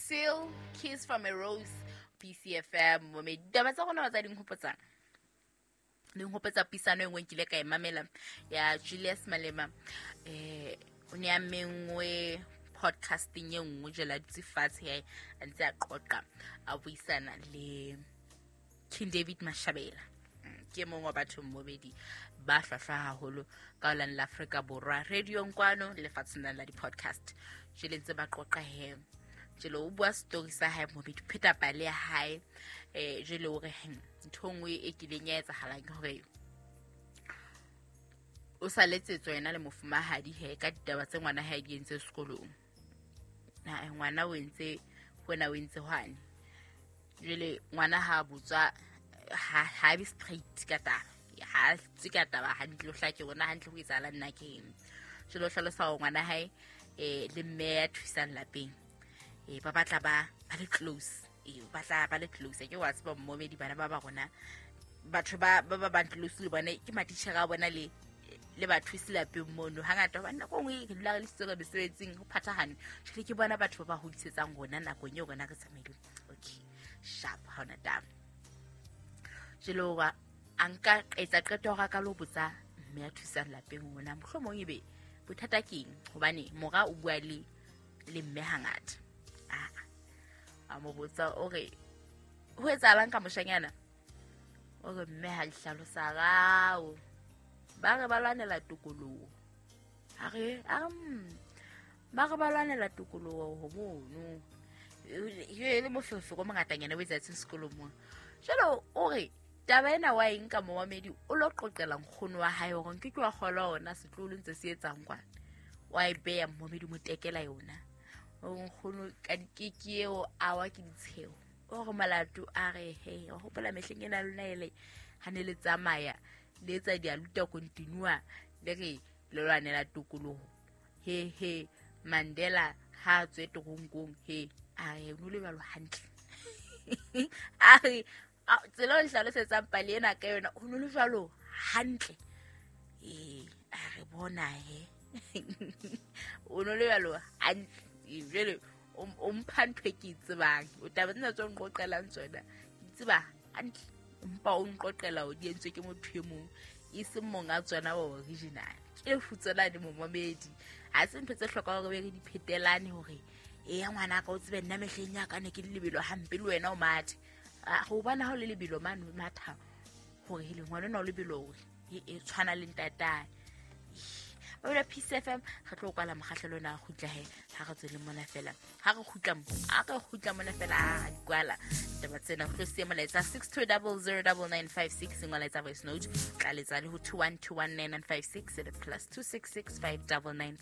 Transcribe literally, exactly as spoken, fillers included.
Seal, Kiss from a Rose, P C F M. Mme ditaba tsa rona tsa dinghopotsa. Dinghopotsa puisano e nngwe nkile ka e mamela ya Julius Malema. Eh, o ne a mengwe podcasting e nngwe jela a dutse fatshe ya a ntse a qoqa a buisana le King David Mashabela. Ke mongwe wa batho mmobedi ba hlwahlwa haholo ka ho la Afrika Borwa radio kwano le lefatsheng la di-podcast. Jwale ntse ba qoqa he. Jwale o bua story sa hae mobedi, pheta pale ya hae. Eh, jwale o re, hmm, ntho e nngwe e kileng ya etsahalang ke hore o sa letsetswa yena le mofumahadi he ka ditaba tse ngwana hae di entse sekolong. Na ngwana o entse hona, o entse hwane. Jwale ngwana ha botswa, ha, ha be straight ka taba. Ha tswe ka taba hantle, o hlake hore na hantle ho etsahalang nna ke eng. Jwale o hlalosa hore ngwana hae, eh, le mme ya thusang lapeng, eh, ba batla ba, ba le close. Eh, ba batla ba le close. Ke wa tseba mmomedi bana ba ba rona, batho ba, ba ba bang close le bona ke matitjhere a bona le, le bathusi lapeng mono. Hangata hobane nako e nngwe re dula re le sitse re mesebetsing, ho phathahane. Jwale ke bona batho ba ba hodisetsang rona nakong eo rona re tsamaileng. Okay, sharp, ha hona taba. Jwale hoba a nka etsa qeto ya hore a ka lo botsa mme ya thusang lapeng hore na mohlomong ebe bothata ke eng, hobane mora o bua le, le mme hangata. Ah, a mo botsa o re ho etsahalang ka moshanyana? O re mme ha dihlalosa rao. Ba re ba lwanela tokoloho. A re, a re, mm, ba re ba lwanela tokoloho ho mono. E le moferefere o mongatanyana o etsahetseng sekolong mona. Jwale o re taba ena wa eng ka momamedi o lo qoqela nkgono wa hae hore nke ke wa kgolwa hona setloholo ntse se etsang kwana. Wa e beha momamedi mo tekela yona. O nkgono ka dikeke eo a wa ke ditsheho. O re molato a re he, wa hopola mehleng ena lona ele ha ne le tsamaya le etsa dialuta continua le re le lwanela tokoloho. He he Mandela ha a tswe teronkong he a re no le jwalo hantle. A re a tsela o hlalosetsang pale ena ka yona ho no le jwalo hantle. Eh, a re bona he. O no le jwalo hantle. Jwale o, o mpha ntho e ke e tsebang. O taba tsena tse o nqoqelang tsona, ke tseba hantle. Empa o nqoqela o di entswe ke motho e mong, e seng monga tsona wa original. Ke lefutsona le momamedi. Ha se ntho tse hlokang hore re di phetelane hore e ya ngwana ka o tsebe nna mehleng ya ka ne ke le lebelo hampe le wena o mathe. Ah, ho bona ha o le lebelo mane o matha hore hele ngwana ona o lebelo hore e, e tshwana le ntatae. Ba bula P C F M, re tlo kwala mokgahlelo ona a kgutla he, ha re tswele mona fela. Ha re kgutla mo, ha re kgutla mona fela, a di kwala taba tsena. Re tlo siya molaetsa six two double zero double nine five six, molaetsa voice note, tla letsa le ho two one two one nine nine five six, le plus two six six five double nine